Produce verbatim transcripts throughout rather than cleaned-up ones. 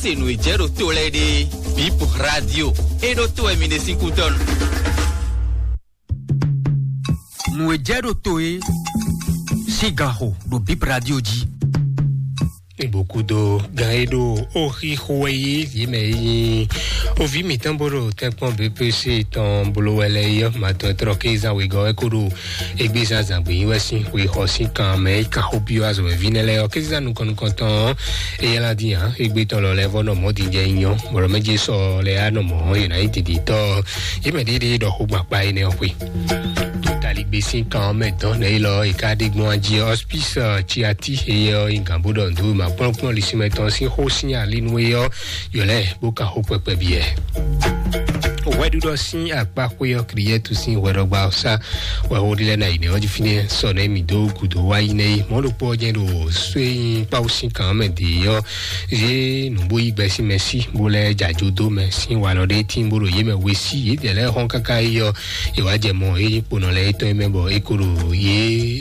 Se nǔ e jɛ ɖo to lɛ́ɛ ɖe, Bip Radio, e ɖo to wɛ mi ɖe sín kútɔ́ nu. Nǔ e jɛ ɖo to e sín ganxo ɖo Bip Radio jí. Ibokudo gan e ɖo oxixo wɛ yi yě mɛ yi ovi mǐtɔn bó ɖo tɛ́nkpɔ́n B P C tɔn blo wɛ lɛ́ɛ yi ɔ́, matɔn e tlɔ kézan wegɔ́ wɛ kó ɖo égbé zán zǎn gbé nyi wɛ sín xwexɔ sín kan mɛ é kan xó byɔ́ azɔ̌mɛví nɛ́ lɛ́ɛ ɔ́, kézán nukɔn nukɔntɔn ɔ́, é ylá dín ǎ. Égbé tɔn lɔ lɛ́ɛ vɔ́ nɔ mɔ̌ din jɛ nyɔ, bɔ ɖɔ mɛ jɛ sɔ lɛ́ɛ á nɔ mɔ̌ yě ná nyí dǐndíntɔ́ ɔ́, yě mɛ ɖéɖéé ɖɔ xó gbakpá énɛ́ ɔ́ xwe. Totaligbé sín kan ɔ́ mɛ dɔn nɛ́ élɔ́ è ká ɖe gbɔn ají ɔ́, hospice ciati éyɛ́ ɔ́ nyí gǎn bó ɖɔ nǔ dó ma kplɔ́nkplɔ́n lisínmɛ tɔn sín xó sín ali nú é ɔ́, yɔ lɛ́ɛ bó ka xó kpɛkpɛ biɛ. Hwɛɖuɖɔ sín akpáxwé ɔ́, Kliyɛ́tu sín hwɛɖɔgba ɔ́ sá wɛ xó ɖi lɛ́ɛ ná yi nɛ́ ɔ́ jí fínɛ́ sɔ nɛ́ mǐ dó gǔdo wá yi nɛ́ é. Mɔ̌ ɖokpó ɔ́ jɛ́n ɖo só e nyí kpáwú sín kan ɔ́ mɛ dě ɔ́, yě nǔ bó yí gbɛ sín mɛ sí bó lɛ́ jɛ ajo dó mɛ sín walɔ ɖé tíin bó ɖo yě mɛ we sí. Yědɛɛ lɛ́ɛ xɔ́n káká yi ɔ́, è wǎ jɛ mɔ é nyí kponɔ lɛ́ɛ étɔn é mɛ bɔ é ko ɖo yě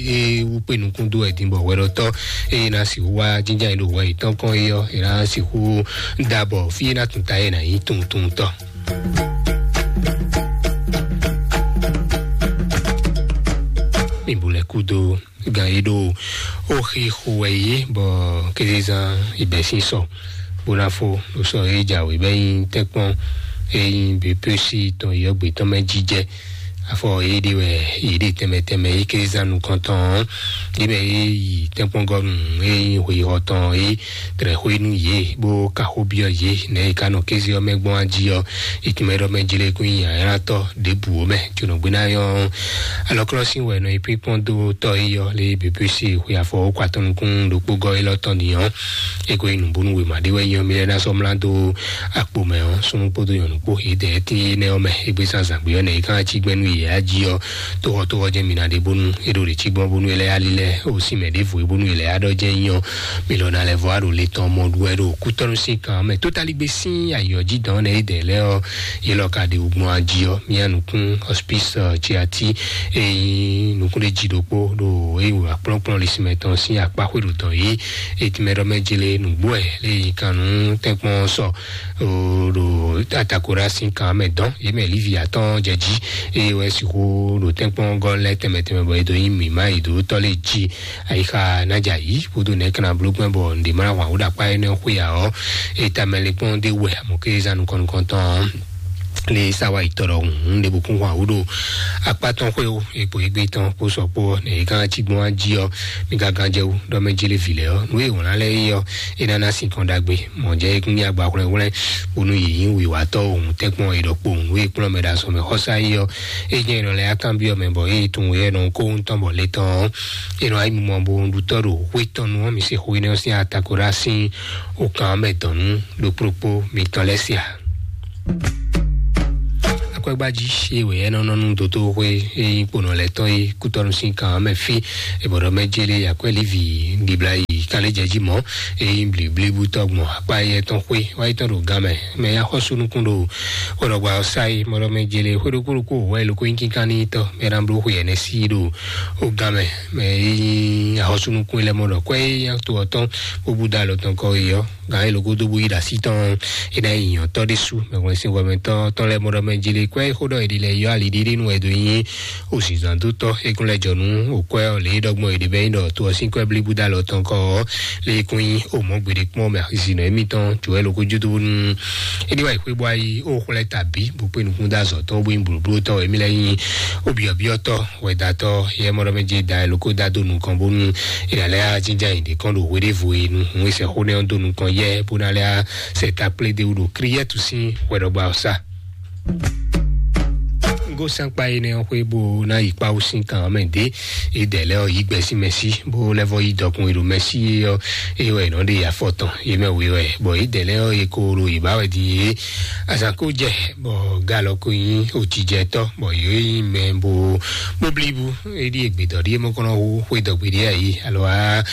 é wú kpé nukún dó wɛ din bɔ hwɛɖɔtɔ́ e ná sixú wá jínjɔ́n ayǐ ɖo hwɛ yětɔn kɔn é ɔ́, è ná sixú da bɔ fí é ná tun ta é ná nyí tunwuntunwuntɔ́. Mi bu lɛ kúdo gan yi ɖo oxi xo wɛ yě bɔ kézezán ibɛsín sɔ bó ná fó ɖo sɔ é jǎwe bɛ nyi tɛ́nkpɔ́n é nyi běpési tɔn yɔ́gbé tɔn mɛ jijɛ. Afɔ yé ɖe wɛ yé ɖe tɛnmɛ tɛnmɛ yé kézezán nukɔntɔn ɔ́, ɖě mɛ yé yi tɛ́nkpɔ́ngɔ́nu é nyi xweyǐxɔ tɔn é tlɛ xwé nú yě bó ka xó byɔ́ yě nɛ̌ yě ka nɔ kéze ɔ́ mɛ gbɔn ají ɔ́, é tún mɛ ɖɔ mɛ jlé kún nyi ayánátɔ́ ɖěbǔ ó mɛ. Jonɔgbé ná nyɔ́ alɔklɔ́sín wɛ nɔ yi pínkpɔ́n dó tɔ́ é yɔ lé běpési xwe afɔ ó kɔ atɔn nukún ɖokpó gɔ́ élɔ́ tɔn din ɔ́, é ko yi nǔbónú wěma ɖé wɛ nyɔ́ mí lɛ́ ná sɔ́ mlá dó akpo mɛ ɔ́, súnnu kpódó nyɔ̌nu kpó yědɛɛ tín énɛ́ ɔ́ mɛ. Égbé zán zǎngbé ɔ́ nɛ̌ é ká cí gbɛ́ nú yě á jí ɔ́, tóxɔtóxɔ jɛ́n mi ná ɖe bónú é ɖo ɖě cí gbɔn bónú é lɛ́ yá lílɛ́ ó sí mɛ ɖěvo é bónú é lɛ́ yá ɖɔ jɛ́n nyí ɔ́, mi lɔ ná lɛ́ vɔ á ɖo le tɔn mɔ ɖu wɛ ɖo kútɔ́nú sín kan mɛ. Tótalígbé sín ayɔ̌jidɔn nɛ́ yědɛɛ lɛ́ɛ ɔ́, yě lɔ ka ɖe wǔgbɔn ají ɔ́, mía nukún hospice ciati e nyí nukúnɖéjí ɖokpó ɖo é yi wǎ kplɔ́nkplɔ́n lisínmɛ tɔn sín akpá xwé ɖo dɔn yìí. Etime ɖɔ mɛ jele nǔgbó ɛ lé yi kan nú tɛ́nkpɔ́n sɔ ɖo atakora sín kan mɛ dɔn yě mɛ lívi atɔ́ɔ́n jɛ jí, eye wɛ sixú ɖo tɛ́nkpɔ́n gɔ́ lɛ́ tɛnmɛ tɛnmɛ bɔ è dǒ nyi mǐmá yi dǒ tɔ́ lé jí. Ayixa ná jɛ ayǐ kúdó nɛ̌ kan ná bló gbɛ́ bɔ nǔɖé má ná hwan wǔ ɖo akpá énɛ́ xwé ǎ ɔ́, é ta mɛ lé kpɔ́n ɖé wɛ amɔ̌ kézán nukɔn nukɔntɔn ɔ́, lé sá wá yi tɔɖɔ hǔn ɖěbǔ kún hwan wǔ ɖo akpá tɔn xwé ó, egbò égbé tɔn kpó sɔ kpó ɔ́, nɛ̌ é gán cí gbɔn wá jí ɔ́, mi ka gán jɛ wú ɖɔ mɛ jí lé vǐ lɛ́ɛ ɔ́, nǔ e è wlǎn lɛ́ɛ é ɔ́, é ná ná sin kɔn ɖagbe. Mɔ̌ jɛ é kún nyí agba hwlɛ́nhwlɛ́n bónú yě nyí wǐwatɔ́ ohun tɛ́nkpɔ́n è ɖɔ kpowun nǔ e kplɔ́n mɛ ɖo azɔ̌ mɛ xɔ́sá é ɔ́, é jɛ́n è nɔ lɛ́ yá kanbyɔ́ mɛ bɔ é yi tunwun éyɛ́ nɔ kó ŋutɔn bɔ le tɔn ɔ́, è nɔ wá yi mɔ bo ɖutɔ́ ɖo xwé tɔn nu ɔ́, mi se xó énɛ́ ɔ́ sín atakora sín okan ɔ́ mɛ dɔn nú ɖokpó ɖokpó mitɔn lɛ́ɛ sia. Akwɛ́gbájí e wɛ é nɔ nɔ nú dotóxwé e nyí kponɔ lɛ́ɛ tɔn e kútɔ́nú sín kan ɔ́ mɛ fí, è bɔ ɖɔ mɛ jélé akwɛ́ lívi ɖibla yi kan lé jɛ jí mɔ̌, e nyí bliblíbú tɔgbɔn akpá yɛ tɔn xwé wá yi tɔn ɖo gan mɛ. Mɛ ya xɔ́sú nukún ɖo xwéɖɔgba ɔ́ sá yi mɔ ɖɔ mɛ jélé xwé ɖokpó ɖokpó wɛ loko nyí kínkán ní tɔ́ mɛ ná bló xwe ɛnɛ sí ɖo ó gan mɛ. Mɛ e nyí axɔ́sú nukún lɛ́ɛ mɔ ɖɔ kwɛ́ e nyí to ɔ́ tɔn bó bú dó alɔ tɔn kɔ yi ɔ́, gǎn e loko dó bó yi ɖo así tɔn é ná yi nyɔ̌tɔ́ ɖésú mɛ hwlɛ́n sín hwɛmɛtɔ́ tɔn lɛ́ɛ mɔ ɖɔ mɛ jélé kwɛ́ xó ɖɔ è ɖi lɛ yɔ ali ɖiɖi nú wɛ dó nyí òsìzǎndótɔ́ é kún lɛ́ jɔ nú òkwɛ́ ɔ́ lě e ɖɔ gbɔn è ɖe bɛ́ nyí ɖɔ to ɔ́ sín kwɛ́ blíbú dó alɔ tɔn kɔ ɔ́, lě e kún nyí òmɔ̌ gbeɖé kpɔ́n mɛ azinɔ émítɔn jǒ wɛ loko jó dó nú é ɖi wá yi xwé bó wá yi ó xwlɛ́ ta bǐ bó kpé nukún dó azɔ̌ tɔn bó nyí blǒbló tɔn émí lɛ́ nyí ó byɔ̌byɔ́ tɔ́ wɛ̌datɔ́ yɛ mɔ ɖɔ mɛ jɛ da ɛ loko dá dó nukɔn bónú è nǎ lɛ́ á jínjɔ́n ayǐ ɖě kɔn ɖo hweɖévo e nu hǔn e sɛxó nɛ́ ɔ́ dó nukɔn yɛ bó ná lɛ́ á sɛ ta kplé dó wú ɖo Kliyɛ́tu sín hwɛɖɔgba ɔ́ sá. Gosɛnkpa énɛ́ ɔ́ xwé bó ná yi kpáwú sín kan ɔ́ mɛ dě, é dɛ lɛ́ ɔ́ yí gbɛ sín mɛ sí bó lɛ́ vɔ yí dɔkun e ɖo mɛ sí é ɔ́, é wɛ è nɔ ɖe afɔ tɔn yě mɛ we wɛ, bɔ é dɛ lɛ́ ɔ́ yě ko ɖo yě ba wɛ din é. Azǎn ko jɛ bɔ galɔ ko nyí òjijɛtɔ́ bɔ yě nyí mɛ bó bó blíbú é ɖíe gbědɔ́ ɖíe mɔkɔnɔ hú xwé dɔgbe ɖíe ayǐ alo á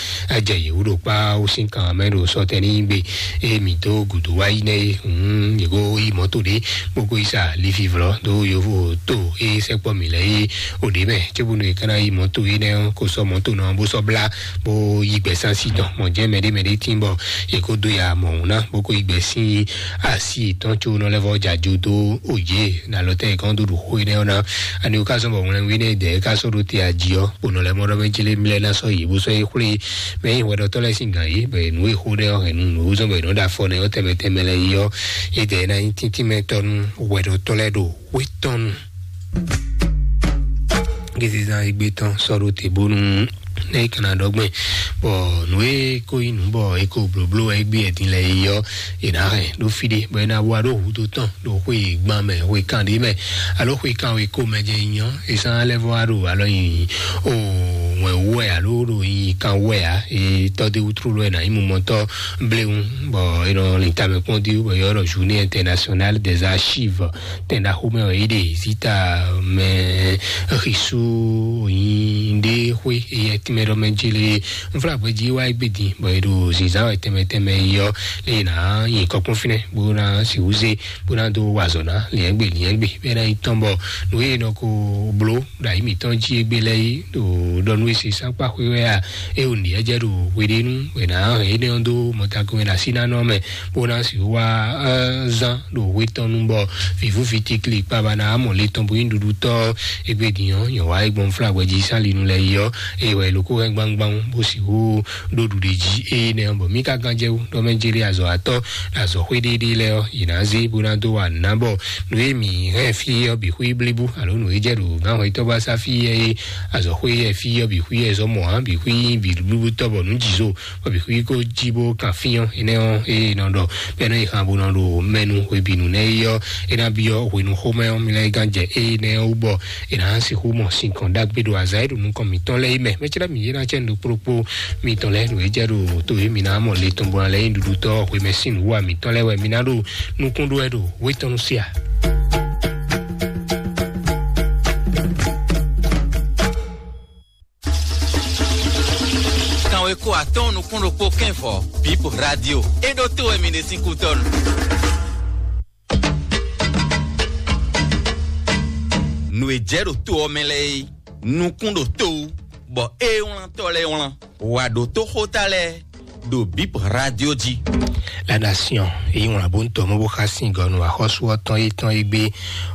jɛ yě wú ɖo kpá wú sín kan mɛ ɖo sɔtɛn ní gbe é mǐ dó gǔdo wá yi nɛ́ é hǔn yě ko yi mɔ̌to ɖé bó ko yi sa lifi vlɔ́ dó yovo tó E sɛkpɔ mǐ lɛ́ɛ yi o ɖě mɛ, cóbónú è ka ná yi mɔ̌to énɛ́ ɔ́, kó sɔ́ mɔ̌to nɔ bó sɔ́ blá, bó yí gbɛ sánsí tɔn. Mɔ̌ jɛ́n mɛɖé mɛɖé tín bɔ è kó dó ya mɔ̌hun ná, bó kó yí gbɛ sín asi yětɔn có nɔ lɛ́ vɔ́ jɛ ajo dó òjé nalɔtɛ́ yě kɔn dó ɖo xó énɛ́ ɔ́ ná. Ani wú ká zɔ́n bɔ wlɛnwí nɛ́ dɛ̌ ká sɔ́ ɖó te ají ɔ́, kponɔ lɛ́ɛ mɔ ɖɔ mɛ jí lé mlɛ́ ná sɔ́ yě bó sɔ́ yě xwlé mɛ nyí hwɛɖɔtɔ́ lɛ́ɛ sín gǎn yě, bɔ è nǔ e xó ɖɛ ɔ́ hɛn nú nǔ e zɔ́n bɔ è nɔ́ ɖo afɔ nɛ́ ɔ́ tɛnmɛ tɛnmɛ lɛ́ɛ yi ɔ́, é dɛ̌ ná nyí tíntímɛtɔ́ nú hwɛɖɔtɔ́ lɛ́ɛ ɖo xwé tɔn nu. Gizizan egbe tɔn sɔ́ ɖó te bónú ne é kana ɖɔ gbɛn, bɔ nǔ e ko nyí nǔ bɔ è ko blǒbló wɛ é gbé ɛdin lɛ yi ɔ́, è nǎ hɛn ɖó fí ɖé, bɔ è nǎ wa ɖó hǔdo tɔn ɖo xwe gban mɛ, xwe kan ɖé mɛ, alo xwe kan wé ko mɛ jɛ nyɔ, è sán lɛ́ vɔ wá ɖo alɔ nyi o wɛn wú wɛ alo ɖo nyi kan wú wɛ ǎ, è tɔ́ dé wútrú lɔ è nǎ nyí mumɔtɔ́ bléwu, bɔ è nɔ lin tamɛ kpɔ́n dí wú, bɔ è ylɔ́ ɖɔ journée internationale des archives. Tɛn ɖaxó mɛ wɛ yě ɖe zita mɛ xisu nyi ɖe xwé eyɛ tɛmɛ ɖɔ mɛ jele nfla gbɛdzi wa egbe din bɔ yě ɖo zinzan wɛ tɛmɛ tɛmɛ yi ɔ lé na nyi kɔkpɔn finɛ bó na si wuze bó na do wazɔ na liɛngbe liɛngbe bɛ na yi tɔn bɔ nù yé nɔ ko blo ɖo ayi mǐtɔn jí egbe lɛ yi ɖo ɖɔ nú esi sánkpa xwé wɛ a eye wò nìyɛ jɛ ɖo hweɖénu wɛ na hɛn énɛ́ ɔ́ dó mɔtagun wɛ na sí ná nɔ mɛ bó ná sixú wá zán ɖo hwetɔnu bɔ vǐvú vitikli kpaba ná mɔ le tɔn bó nyí ɖuɖutɔ́ égbé din ɔ́ nyɔ̌ wá é gbɔn flágbɛ jí sán linu lɛ yi ɔ́ eye wɛ lóko hɛn gbangban bó sixú ɖó ɖuɖe jí eye nɛ ɔ́ bɔ mí ka gán jɛ wú ɖɔ mɛ jeli azɔ atɔ azɔ xwé ɖéɖé lɛ ɔ́ yě ná zé bó ná dó wa nǔ ná bɔ nǔ e mǐ hɛn fí ɔ́ bǐ xwí blíbú alo nǔ e jɛ ɖo gán hwetɔ́ bá sá fí ɛ é azɔ xwé ɛ fí ɔ́ bǐ xwí ɛ zɔ́ mɔ ǎ bǐ xwí bǐ blíbú tɔ́ bɔ nǔ jǐ zo bɔ bǐ xwí kó jí bó kan fí ɔ́ énɛ́ ɔ́ ée nɔ ɖɔ bɛ́ nɔ yi xan bó nɔ ɖo mɛnu hwebǐnu nɛ́ é ɔ́ é ná byɔ́ hwenu xomɛ ɔ́ mi lɛ́ gán jɛ ée nɛ́ ɔ́ wú bɔ è nǎ sixú mɔ sinkɔn ɖagbe ɖo azǎn e ɖo nukɔn mǐtɔn lɛ́ɛ é mɛ mɛcɛ́ mǐ é ná cɛ nǔ ɖokpó ɖokpó mitɔn lɛ́ɛ nǔ e jɛ ɖo to e mǐ ná mɔ le tɔn bó ná lɛ́ nyí ɖuɖutɔ́ hwemɛ sín nǔwa mǐtɔn lɛ́ɛ wɛ mǐ ná ɖo nukún ɖó wɛ ɖo wétɔnu sí a. Kanweko atɔ́ɔ́n nukún ɖokpó kɛ́nvɔ bip radio é ɖó to wɛ mi ɖe sín kútɔ́nu. Nǔ e jɛ ɖo to ɔ́ mɛ lɛ́ɛ é nukún ɖo to wú bɔ é wlántɔ́ lɛ́ɛ wlán wǎ ɖótó xóta lɛ́ɛ ɖo bip radio jí. La nation èyí wlán bó ń tɔ mɔ bó xa sin gɔnu axɔsu ɔtɔn yetɔn yi gbé.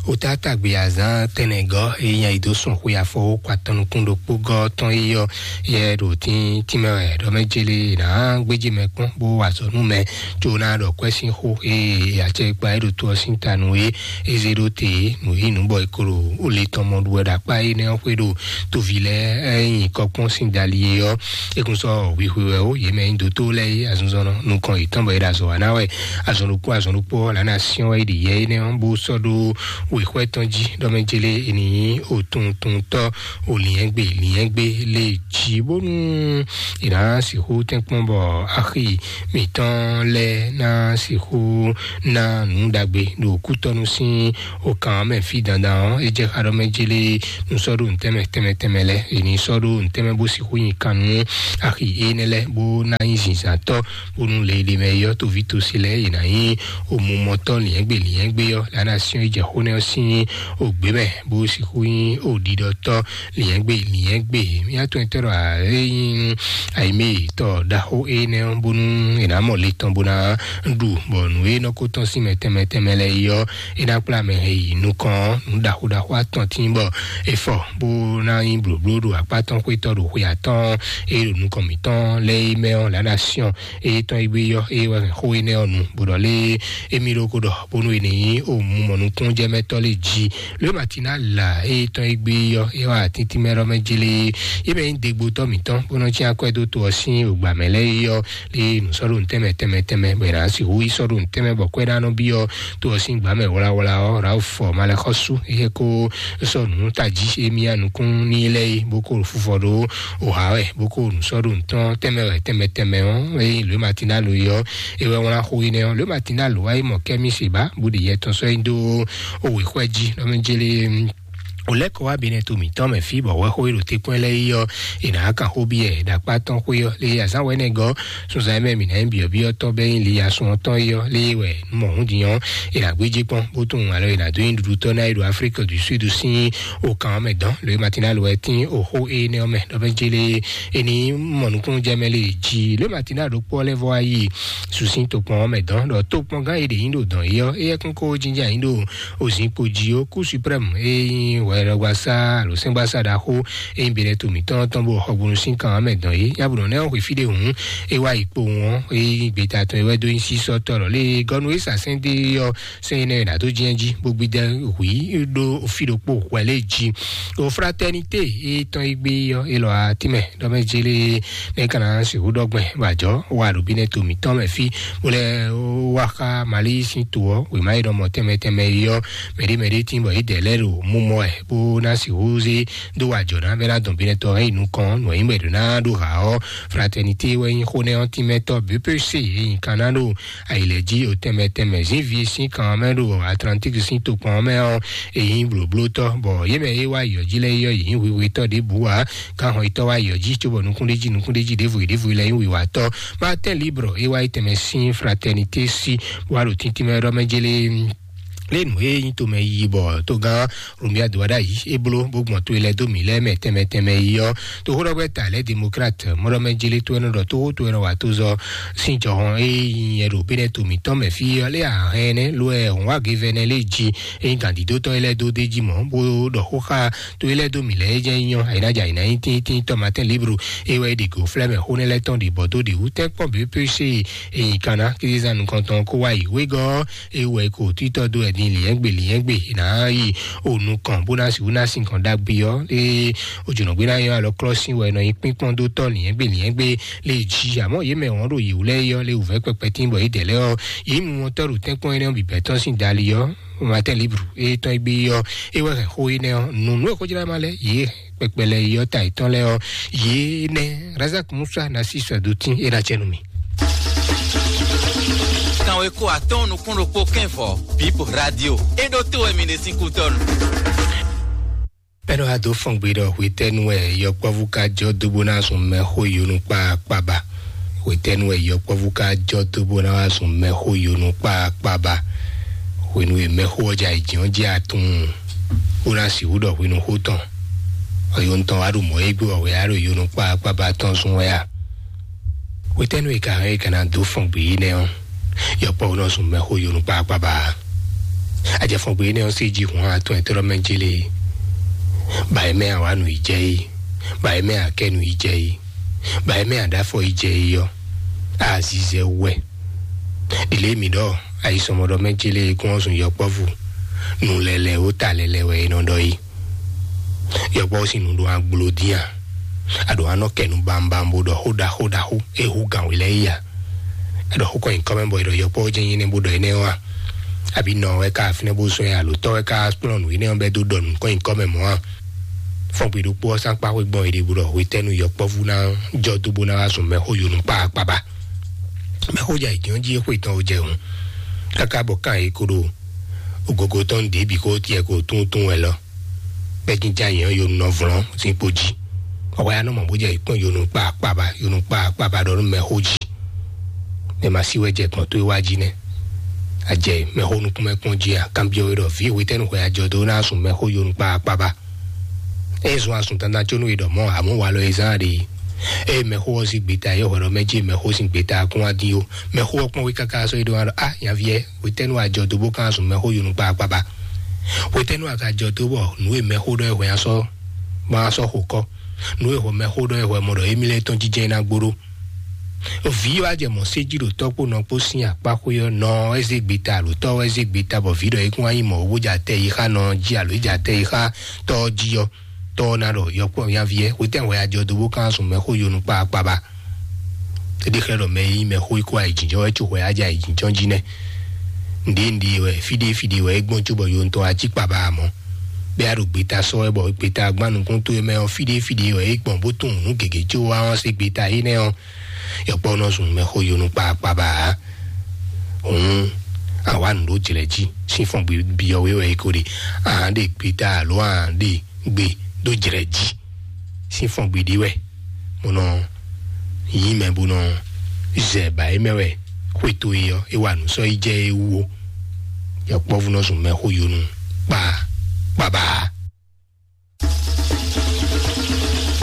Wota tagbe azán tɛnɛgɔ èyí nya yi dó sùn xwe afɔ wó kɔ atɔn nukún ɖokpó gɔ tɔn yi yɔ yɛ ɖo tín tímɛ wɛ ɖɔ mɛ jele nà gbéjì mɛ kpɔn bó wà sɔnú mɛ tso na ɖɔ kwɛ sín xó eye acɛ kpa e ɖo to ɔ sín ta nù e eze ɖo te nù yi nù bɔ e klo o le tɔn mɔ ɖu wɛ ɖo akpa énɛ́ ɔ́ xwé ɖo tovi lɛ ɛ nyi kɔkpɔn sín dali e ɔ́. Ekun sɔ hwihwe wɛ o yě mɛ nyi dótó lɛ yi azunzɔnɔ nukɔn yětɔn bɔ é ɖo azɔ wa ná wɛ azɔn ɖokpó azɔn ɖokpó ɔ́ lǎ ná syɔ́n wɛ yi ɖi yɛ énɛ́ ɔ́ bó sɔ́ ɖó wěxwɛ́ tɔn jí ɖɔ mɛ jele e nì nyí òtuntuntɔ́ o liɛ́ngbé liɛ́ngbé lé jí bónú è nǎ sixú tɛ́nkpɔ́n bɔ axi mǐtɔn lɛ́ɛ ná sixú ná nǔ ɖagbe ɖo kútɔ́nú sín okan mɛ fí dandan ɔ́ é jɛ xá ɖɔ mɛ jélé nú sɔ́ ɖo nǔtɛ́mɛ tɛnmɛ tɛnmɛ lɛ́ɛ è ní sɔ́ ɖo nǔtɛ́mɛ bó sixú nyi kan nú axi énɛ́ lɛ́ɛ bó ná nyí zǐnzǎntɔ́ bónú le ɖe mɛ yɔ toví tosi lɛ́ɛ è nǎ nyí omumɔtɔ́ liɛ́ngbé liɛ́ngbé ɔ́ lǎ ná syɔ́n yi jɛ xó nɛ́ ɔ́ sín ògbé mɛ bó sixú nyí òɖiɖɔtɔ́ liɛ́ngbé liɛ́ngbé. Mía tɔn tɔ́ ɖɔ ényí ayimé tɔ ɖaxó énɛ́ ɔ́ bónú è nǎ mɔ le tɔn bó ná ɖu bɔ nǔ e nɔ ko tɔn sín mɛ tɛnmɛ tɛnmɛ lɛ́ɛ yi ɔ́ é ná kplá mɛ hɛn yi nukɔn nǔ ɖaxó ɖaxó atɔn tín bɔ é fɔ bó ná nyí blǒbló ɖo akpá tɔn xwétɔ́ ɖo xwe atɔ́ɔ́n é ɖo nukɔn mǐtɔn lɛ́ɛ é mɛ ɔ́ lǎ ná syɔ́n é tɔn é gbé yɔ é wɛ hɛn xó énɛ́ ɔ́ nu bó ɖɔ lé émí ɖokó ɖɔ bónú è nǐ nyí òmu mɔ nukúnnújɛmɛtɔ́ lé jí lě ma tina là é tɔn é gbé yɔ é wá tíntín mɛ ɖɔ mɛ jélé é mɛ nyí dégbotɔ́ mǐtɔn bónú cyán akwɛ́ dó to ɔ́ sín ògbà mɛ lɛ́ɛ é yɔ lé nǔ sɔ́ ɖo nǔtɛ́mɛ tɛnmɛ tɛnmɛ bɔ è nǎ sixú yí sɔ́ ɖo nǔtɛ́mɛ bɔ kwɛ́ ná nɔ byɔ́ to ɔ́ sín gbǎ mɛ wlawla ɔ́ Rawu fɔ Malɛxɔ́sú é ko sɔ́ nǔ tají émí nukún ní lɛ́ɛ é bó ko fufɔ ɖó òhǎ wɛ bó ko nǔ sɔ́ ɖo nǔtɔn tɛnmɛ wɛ tɛnmɛ tɛnmɛ ɔ́ é nyí lě ma tina lo é ɔ́ é wɛ wlán xó énɛ́ ɔ́ lě ma tina lo wá é mɔ kɛ́mí se bá bó ɖe yɛ tɔn sɔ́ é dó òwe xwɛ jí ɖɔ mɛ jélé O lɛ́ kɔ wá Benɛto mǐtɔn mɛ fí bɔ hwɛxó e ɖo tɛ́nkpɔ́n lɛ́ɛ yi ɔ́, è nǎ kan xó byɔ́ ɛ ɖo akpá tɔn xwé ɔ́, lé azǎn wɛ̌nɛ gɔ́ sunzan e mɛ mǐ ná nyí byɔ̌byɔ́ tɔn bɛ́ nyí Liyasun ɔ́ tɔn é ɔ́, lé wɛ mɔ hǔn din ɔ́, è nǎ gbéjé kpɔ́n bó tunwun alɔ è nǎ dó nyi ɖuɖutɔ́ ná é ɖo Aflíki du Súdu sín okan ɔ́ mɛ dɔn. Lǒ e Matinal wɛ tín oxó énɛ́ ɔ́ mɛ ɖɔ bɛ́ jélé é ní mɔ nukúnnú jɛ mɛ lě jí. Lǒ e Matinal ɖokpó ɔ́ lɛ́ vɔ wá yi susín tokpɔn ɔ́ mɛ dɔn ɖɔ tokpɔngán e ɖě nyí ɖo dɔn é ɔ́, éyɛ́ kún kó jínjɔ́n ayǐ ɖo ozǐnkpo jí ó. Kú Suprême e nyí hwɛɖɔgbasá alo sɛ́ngbasá ɖaxó e nyí Benɛto mǐtɔn tɔn bó xɔgbónu sín kan ɔ́ mɛ dɔn é. Nyabǔnɔ nɛ́ ɔ́ xwe fí ɖé hǔn é wá yi kpowun ɔ́, é nyí gbeta tɔn e wɛ dó nyí sísɔ́tɔ́ lɔ lé gɔ́nu e sa sɛ́n dó é ɔ́, sɛ́n énɛ́ e nǎ dó jɛ́n jí bó gbídɛ́ hwǐ ɖó fí ɖokpó hwɛ lě jí. O Fraternité e tɔn e gbé é ɔ́, é lɔ atínmɛ ɖɔ mɛ jélé nɛ́ ka ná sixú ɖɔ gbɛn bɔ ajɔ̌ wa ɖo Benɛto mǐtɔn mɛ fí, bó lɛ́ wá xá Mali sín to ɔ́, wěma e nɔ mɔ tɛnmɛ tɛnmɛ é ɔ́, mɛɖé mɛɖé tín bɔ yě dɛ lɛ́ ɖo mú mɔ ɛ bó ná sixú zé dó wa ajɔ̌ ná bɛ́ ná dɔn Benɛtɔ hɛn yi nukɔn nǔ e nyí bɔ è ɖǒ ná ɖó ha ɔ́. Fraternité wɛ nyí xó nɛ́ ɔ́ tínmɛtɔ́ B P C e nyí kan ná ɖo ayǐlɛ́jí o tɛnmɛ tɛnmɛ zǐnví sín kan mɛ ɖo Atlantique sín tokpɔn mɛ ɔ́, e nyí blǒblótɔ́, bɔ yě mɛ e wá yɔ̌ jí lɛ́ɛ yɔ yě nyí hwihwitɔ́ ɖěbǔ ǎ. Gǎnhɔn yětɔn wá yɔ̌ jí cóbɔ nukúnɖéjí nukúnɖéjí ɖěvo ɖěvo lɛ́ɛ nyí wiwatɔ́. Martin Libre e wá yi tɛnmɛ sín Fraternité sí wá ɖo tíntín mɛ ɖɔ mɛ jélé lé nǔ e nyí tomɛ yi bɔ togán Romia do wá ɖ'ayǐ é bló bó gbɔn to e lɛ́ dó mǐ lɛ́ɛ mɛ tɛnmɛ tɛnmɛ yi ɔ́. Toxóɖɔgbɛ́ta lɛ́ɛ Démocrate mɔɖɔmɛ jélé tó ɛnɔ ɖɔ toxó tó ɛnɔ wà tó zɔ sín jɔhɔn e nyí nyɛ ɖo Benɛto mǐtɔn mɛ fí ɔ́ lé ahɛn ɛnɛ lo ɛ hɔn wá gevɛnɛ lé jí e nyí gǎndídótɔ́ e lɛ́ dó dé jí mɔ̌ bó ɖɔ xó xá to e lɛ́ dó mǐ lɛ́ɛ jɛ nyɔ ayǐnájà ayǐná nyí tíntín tɔ́ Martin Libre e wɛ ɖi go flɛ́ mɛ xó nɛ́ lɛ́ɛ tɔn ɖi bɔ dó ɖi wú tɛ́nkpɔ́n B P C e nyí Kana kízízán nukɔntɔn kó wá yi wégɔ́ e wɛ ko títɔ́ dó wɛ din lǐnyɛ́gbe lǐnyɛ́gbe ná yi o nukɔn bó ná sixú ná sin kɔn ɖagbe ɔ́ lé ojúnɔgbé ná nyɔ́ alɔ klɔ́ sín wɛ nɔ nyi kpínkpɔ́n dó tɔ́ lǐnyɛ́gbe lǐnyɛ́gbe lé jí. Àmọ́ yě mɛ wɔ̌n ɖo yě wú lɛ́ɛ yɔ lé wǔvɛ́ kpɛkpɛ tín bɔ yě dɛ lɛ́ɛ ɔ́, yě mú wọn tɔ́ ɖo tɛ́nkpɔ́n énɛ́ ɔ́ bǐbɛ́ tɔn sín dali ɔ́, Martin Libre e tɔn e gbé ɔ́, é wɛ hɛn xó énɛ́ ɔ́, nǔnú e xójlá ma lɛ́ɛ yě kpɛkpɛ lɛ́ɛ yɔ ta yětɔn lɛ́ɛ ɔ́, yě nɛ́ Razak Musa ná sí sɔ́ dó tín é ná cɛ nú mì. Kanweko atɔ́ɔ́n nukún ɖokpó kɛ́n vɔ̌, Bib Radio. É ɖó tó wɛ mi ɖe sín kútɔ́nu. Bɛ́ nɔ wá dó fɔ́n gbe ɖɔ hwetɛ́nu wɛ yɔkpɔ́vú ka jɔ dó bó ná zun mɛxó yonu kpáakpába. Hwetɛ́nu wɛ yɔkpɔ́vú ka jɔ dó bó ná wá zun mɛxó yonu kpáakpába. Hwenu e mɛxó ɔ́ jɛ ayǐjínjɔ́n jí atún bó ná sixú ɖɔ hwenu xó tɔn. Ɔyonu tɔn wá ɖo mɔ̌ é gbé wɛ á ɖo yonu kpáakpába tɔn zun wɛ a? Hwetɛ́nu e ka hɛn e ka ná dó fɔn gbě énɛ́ ɔ́, yɔkpɔ́ nɔ zun mɛxó yonu kpákpába. Ajɛfɔn gbě énɛ́ ɔ́ sí jí hǔn atɔn e tlɔ́ mɛ jélé, bǎ é mɛ awǎ nǔ yi jɛ é, bǎ é mɛ akɛ́ nǔ yi jɛ é, bǎ é mɛ aɖáfɔ yi jɛ é ɔ́, azizɛ wɛ. Ɖile mi ɖɔ ayisɔmɔɖɔ mɛ jélé e gɔ́n ɔ́ zun yɔkpɔ́vú, nǔ lɛlɛ ó ta lɛlɛ wɛ é nɔ ɖɔ é. Yɔkpɔ́ sín nǔ ɖo agbló dín a? Aɖǒ anɔ kɛ nú bambam bó ɖɔ xó ɖaxó ɖaxó e hú gǎn wě lɛ́ɛ yí a? Aɖɔ xó kɔn nyǐkɔ mɛ bɔ è ɖɔ yɔkpɔ́ jɛ́n nyí nɛ́ bó ɖɔ énɛ́ ɔ́ a? Abǐ nɔ wɛ ká fínɛ́ bó zɔ́n ɛ alo tɔ́ wɛ ká kplɔ́n nǔ énɛ́ ɔ́ bɛ́ dó ɖɔ nǔ kɔn nyǐkɔ mɛ mɔ̌ a? Fɔ́n gbe ɖokpó ɔ́ sán kpá xwé gbɔn è ɖe bó ɖɔ hwetɛ́nu yɔkpɔ́vú ná jɔ dó bó ná wá zun mɛxó yonu kpáakpába. Mɛxó jɛ ayǐjínjɔ́n jí é xwé tɔn ó jɛ hǔn, káká bɔ kan yě kó ɖo ogogo tɔn ɖě bǐ kó tiɛ kó tún tún wɛ lɔ. Bɛ́ jínjá yě ɔ́ yonu nɔ vlɔ́n sín kpo jí. Ɔwɛ anɔ mɔ bó jɛ yě kpɔ́n yonu kpáakpába, yonu kpáakpába ɖɔ nú mɛxó jí. Mɛ ma sí wɛ jɛ gbɔn tó é wá jí nɛ́. Ajɛ mɛxó nukúnmɛ kpɔ́n jí a? Kanbyɔ́ wé ɖɔ vǐ hwetɛ́nu hwɛ ajɔ dó ná sun mɛxó yonu kpáakpába. É zɔn asun dandan có nú è ɖɔ mɔ̌, amɔ̌ walɔ e zán ɖe. Ée mɛxó ɔ́ sín gbeta é hwɛ ɖɔ mɛ jí mɛxó sín gbeta kún wá dín ó. Mɛxó ɔ́ kpɔ́n wé káká sɔ́ é ɖó wá ɖɔ: "A nyaví ɛ, hwetɛ́nu a jɔ dó bó kán zun mɛxó yonu kpáakpába? Hwetɛ́nu a ka jɔ dó bɔ nǔ e mɛxó ɖɔ é hwɛ a sɔ́ bɔ a sɔ́ xo kɔ́? Nǔ e hwɛ mɛxó ɖɔ é hwɛ mɔ ɖɔ émí lɛ́ɛ tɔn jínjɛ́n ná gbó ɖó?" Vǐ wá jɛ mɔ̌ sé jí ɖo tɔ́ kpó nɔ kpó sín akpá xwé ɔ́, nɔ ɔ́ é zé gbeta, alo tɔ́ ɔ́ é zé gbeta, bɔ vǐ ɖɔ é kún wá nyí mɔ̌ bó jɛ atɛ yi xá nɔ ɔ́ jí, alo é jɛ atɛ yi xá tɔ́ ɔ́ jí ɔ́, tɔ́ ɔ́ ná ɖɔ: "Yɔkpɔ́ nyaví ɛ, hwetɛ́n hwɛ a jɔ dó bó kán sun mɛxó yonu kpáakpába?" É ɖe xlɛ́ ɖɔ mɛ e nyí mɛxó é kó ayǐjínjɔ́n wɛ có hwɛ á jɛ ayǐjínjɔ́n jí nɛ́. Nǔɖé nǔɖé wɛ, fí ɖé fí ɖé wɛ é gbɔn cóbɔ yonu tɔn wá cí kpaba ǎ mɔ̌. Bɛ́ a ɖo gbeta sɔ́ wɛ bɔ gbeta gbán nukún towe mɛ ɔ́, fí ɖé fí ɖé wɛ é gbɔn bó tunwun nǔ gěgé có wá ɔ́ sín gbeta énɛ́ ɔ́, yɔkpɔ́ nɔ zun mɛxó yonu kpáakpába ǎ. Hǔn, àwa nǔ ɖó jlɛ̌ jí. Sín fɔ́n gbe byɔ́ wé wɛ é ko ɖe. Ahan ɖe gbeta alo ahan ɖe gbe ɖó jlɛ̌ jí. Sín fɔ́n gbe ɖé wɛ. Mo nɔ yí mɛ bó nɔ zɛ ba é mɛ wɛ. Xwé towe ɔ́, é wa nǔ sɔ́ yi jɛ é wú ó. Yɔkpɔ́vú nɔ zun mɛxó yonu kpa kpaba.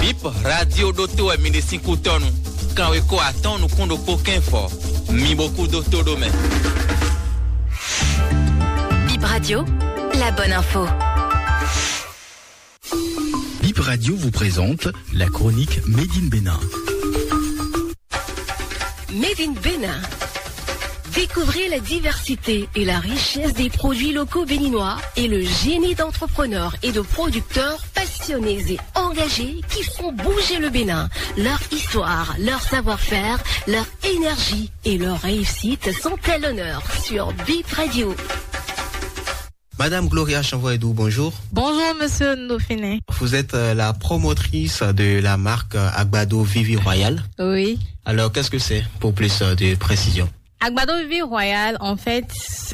Bip radio ɖótó wɛ mi ɖe sín kútɔ́nu. Kanweko atɔ́ɔ́n nukún ɖokpó kɛ́n fɔ. Mi bo kú dó tó ɖó mɛ. Bip Radio, la bonne info. Bip Radio vous présente la chronique Made in Bénin. Made in Bénin. Découvrez la diversité et la richesse des produits locaux béninois et le génie d'entrepreneurs et de producteurs passionnés et engagés qui font bouger le Bénin. Leur histoire, leur savoir-faire, leur énergie et leur réussite sont à l'honneur sur Bip Radio. Madame Gloria Chanvoyedou, bonjour. Bonjour, monsieur Dauphiné. Vous êtes euh, la promotrice de la marque euh, Agbado Vivi Royal. Oui. Alors, qu'est-ce que c'est, pour plus euh, de précision ? Agbado Vivi Royal, en fait,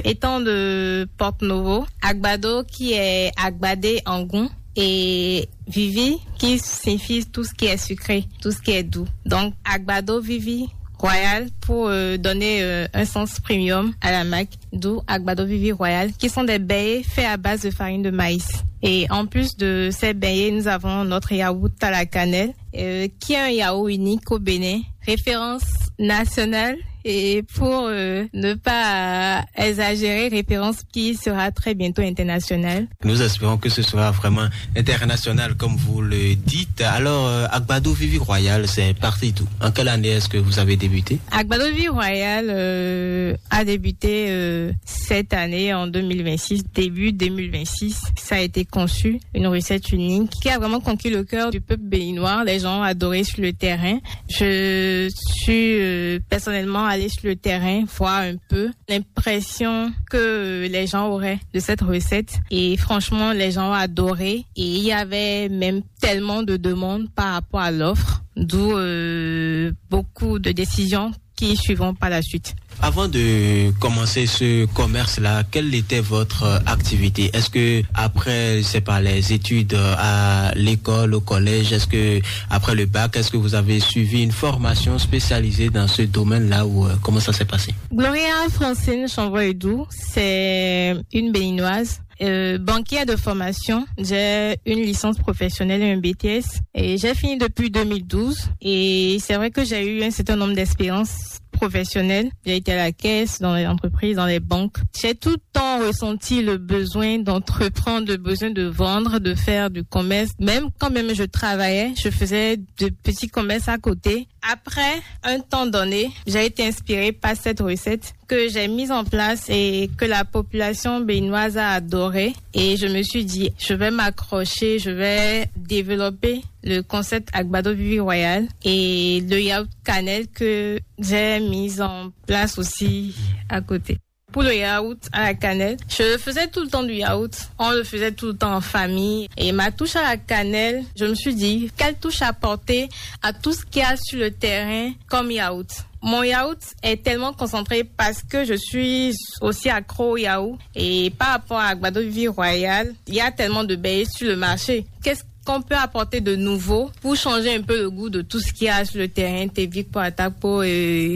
étant de Porto Novo, Agbado qui est agbadé en goût et Vivi qui signifie tout ce qui est sucré, tout ce qui est doux. Donc, Agbado Vivi Royal pour euh, donner euh, un sens premium à la marque, d'où Agbado Vivi Royal, qui sont des beignets faits à base de farine de maïs. Et en plus de ces beignets, nous avons notre yaourt à la cannelle, euh, qui est un yaourt unique au Bénin, référence nationale et pour euh, ne pas euh, exagérer, référence qui sera très bientôt internationale. Nous espérons que ce sera vraiment international, comme vous le dites. Alors, euh, Agbado Vivi Royal, c'est parti tout. En quelle année est-ce que vous avez débuté ? Agbado Vivi Royal euh, a débuté euh, cette année en deux mille vingt-six, début deux mille vingt-six. Ça a été conçu, une recette unique qui a vraiment conquis le cœur du peuple béninois. Les gens ont adoré sur le terrain. Je suis euh, personnellement allée sur le terrain voir un peu l'impression que les gens auraient de cette recette. Et franchement, les gens ont adoré. Et il y avait même tellement de demandes par rapport à l'offre, d'où euh, beaucoup de décisions qui suivront par la suite. Avant de commencer ce commerce-là, quelle était votre euh, activité ? Est-ce que après, je sais pas, les études euh, à l'école, au collège, est-ce que après le bac, est-ce que vous avez suivi une formation spécialisée dans ce domaine-là ou euh, comment ça s'est passé ? Gloria Francine Chanvoyedou, c'est une béninoise euh, banquière de formation. J'ai une licence professionnelle et un B T S. Et j'ai fini depuis deux mille douze. Et c'est vrai que j'ai eu un certain nombre d'expériences professionnelles. J'ai été à la caisse, dans les entreprises, dans les banques. J'ai tout le temps ressenti le besoin d'entreprendre, le besoin de vendre, de faire du commerce. Même quand même je travaillais, je faisais de petits commerces à côté. Après un temps donné, j'ai été inspirée par cette recette que j'ai mise en place et que la population béninoise a adorée. Et je me suis dit, je vais m'accrocher, je vais développer le concept Agbado Vivi Royal et le yaourt cannelle que j'ai mis en place aussi à côté. Pour le yaourt à la cannelle, je faisais tout le temps du yaourt. On le faisait tout le temps en famille. Et ma touche à la cannelle, je me suis dit, quelle touche apporter à tout ce qu'il y a sur le terrain comme yaourt ? Mon yaourt est tellement concentré parce que je suis aussi accro au yaourt. Et par rapport à Agbado Vivi Royal, il y a tellement de baies sur le marché. Qu'est-ce qu'on peut apporter de nouveau pour changer un peu le goût de tout ce qu'il y a sur le terrain, Tevic, Poatapo et